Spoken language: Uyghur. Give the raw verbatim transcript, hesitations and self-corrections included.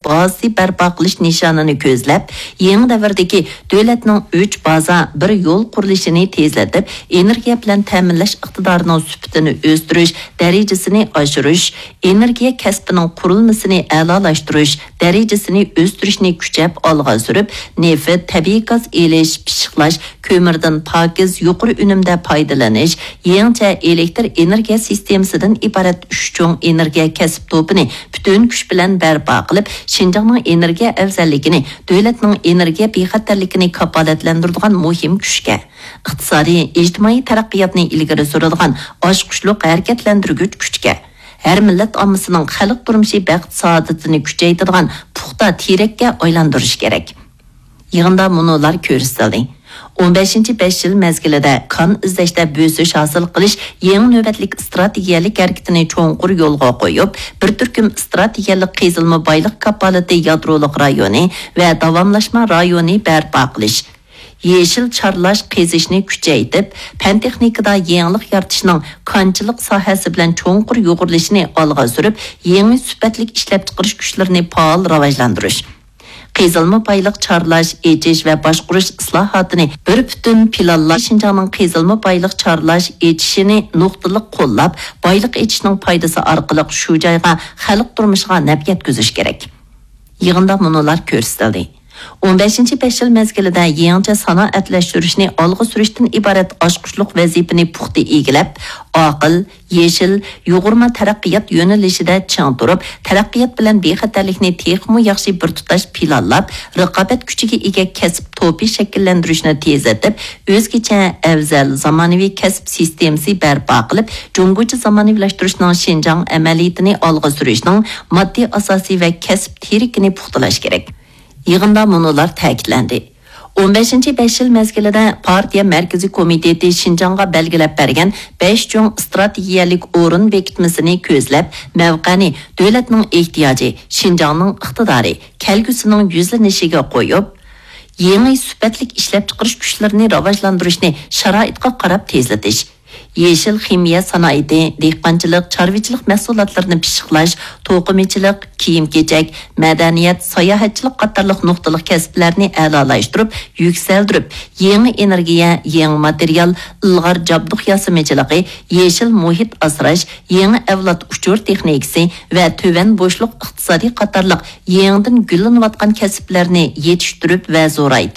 بازىسى بەرپا قىلىش نىشانىنى كۆزلەپ، يېڭى دەۋردىكى دۆلەتنىڭ ئۈچ بازا، بىر يول قۇرۇلۇشىنى تېزلىتىپ، ئېنېرگىيە بىلەن تەمىنلەش ئىقتىدارىنىڭ سۈپىتىنى ئۆستۈرۈش دەرىجىسىنى ئاشۇرۇش، ئېنېرگىيە كەسپىنىڭ قۇرۇلمىسىنى ئەلالاشتۇرۇش دەرىجىسىنى ئۆستۈرۈشنى كۈچەپ ئالغا سۈرۈپ، نېفىت، تەبىئىي گاز ئېلىش، پىششىقلاش، كۆمۈردىن پاكىز، يۇقىرى ئۈنۈمدە پايدىلىنىش، يېڭىچە ئېلېكتر ئېنېرگىيە سىستېمىسىدىن ئىبارەت ئۈچ چوڭ ئېنېرگىيە كەسىپ توپىنى پۈتۈن كۈچ بىلەن بەرپا قىلىپ، شىنجاڭنىڭ ئېنېرگىيە ئەۋزەللىكىنى، دۆلەتنىڭ ئېنېرگىيە بىخەتەرلىكىنى كاپالەتلەندۈرىدىغان مۇھىم كۈچكە، ئىقتىسادىي، ئىجتىمائىي تەرەققىياتنى ئىلگىرى سۈرىدىغان ئاچقۇچلۇق ھەرىكەتلەندۈرگۈچ كۈچكە، ھەر مىللەت ئاممىسىنىڭ خەلق تۇرمۇشى بەخت-سائادىتىنى كۈچەيتىدىغان پۇختا تىرەككە ئايلاندۇرۇش كېرەك. يىغىندا مۇنۇلار كۆرسىتىلدى. ئون بەشىنچى بەش يىل مەزگىلىدە كان ئىزدەشتە بۆسۈش ھاسىل قىلىش يېڭى نۆۋەتلىك ئىستراتېگىيەلىك ھەرىكىتىنى چوڭقۇر يولغا قويۇپ، بىر تۈركۈم ئىستراتېگىيەلىك قېزىلما بايلىق كاپالىتى يادرولۇق رايونى ۋە داۋاملاشما رايونى بەرپا قىلىش، يېشىل چارلاش قېزىشنى كۈچەيتىپ، پەن-تېخنىكىدا يېڭىلىق يارىتىشنىڭ كانچىلىق ساھەسى بىلەن چوڭقۇر يۇغۇرۇلۇشىنى ئالغا سۈرۈپ، يېڭى سۈپەتلىك ئىشلەپچىقىرىش كۈچلىرىنى پائال راۋاجلاندۇرۇش، قېزىلما بايلىق چارلاش، ئېچىش ۋە باشقۇرۇش ئىسلاھاتىنى بىر پۈتۈن پىلانلاش، شىنجاڭنىڭ قېزىلما بايلىق چارلاش، ئېچىشىنى نۇقتىلىق قوللاپ، بايلىق ئېچىشنىڭ پايدىسى ئارقىلىق شۇ جايغا، خەلق تۇرمۇشىغا نەپ يەتكۈزۈش كېرەك. يىغىندا مۇنۇلار كۆرسىتىلدى. ئون بەشىنچى بەش يىل مەزگىلىدە يېڭىچە سانائەتلەشتۈرۈشنى ئالغا سۈرۈشتىن ئىبارەت ئاچقۇچلۇق ۋەزىپىنى پۇختا ئىگىلەپ، ئاقىل، يېشىل، يۇغۇرما تەرەققىيات يۆنىلىشىدە چىڭ تۇرۇپ، تەرەققىيات بىلەن بىخەتەرلىكنى تېخىمۇ ياخشى بىر تۇتاش پىلانلاپ، رىقابەت كۈچىگە ئىگە كەسىپ توپى شەكىللەندۈرۈشنى تېزلىتىپ، ئۆزگىچە، ئەۋزەل، زامانىۋى كەسىپ سىستېمىسى بەرپا قىلىپ، جۇڭگوچە زامانىۋىلاشتۇرۇشنىڭ شىنجاڭ ئەمەلىيىتىنى ئالغا سۈرۈشنىڭ ماددىي ئاساسى ۋە كەسىپ تىرىكىنى پۇختىلاش كېرەك. يىغىندا مۇنۇلار تەكىتلەندى. ئون بەشىنچى بەش يىل مەزگىلىدە پارتىيە مەركىزىي كومىتېتى شىنجاڭغا بەلگىلەپ بەرگەن بەش چوڭ ئىستراتېگىيەلىك ئورۇن بېكىتمىسىنى كۆزلەپ، مەۋقەنى دۆلەتنىڭ ئېھتىياجى، شىنجاڭنىڭ ئىقتىدارى، كەلگۈسىنىڭ يۈزلىنىشىگە قويۇپ، يېڭى سۈپەتلىك ئىشلەپچىقىرىش كۈچلىرىنى راۋاجلاندۇرۇشنى شارائىتقا قاراپ تېزلىتىش، يېشىل خىمىيە سانائىتى، دېھقانچىلىق، چارۋىچىلىق مەھسۇلاتلىرىنى پىششىقلاش، توقۇمىچىلىق، كىيىم-كېچەك، مەدەنىيەت، ساياھەتچىلىك قاتارلىق نۇقتىلىق كەسىپلەرنى ئەلالاشتۇرۇپ، يۈكسەلدۈرۈپ، يېڭى ئېنېرگىيە، يېڭى ماتېرىيال، ئىلغار جابدۇق ياسىمىچىلىقى، يېشىل مۇھىت ئاسراش، يېڭى ئەۋلاد ئۇچۇر تېخنىكىسى ۋە تۆۋەن بوشلۇق ئىقتىسادى قاتارلىق يېڭىدىن گۈللىنىۋاتقان كەسىپلەرنى يېتىشتۈرۈپ ۋە زورايتىپ،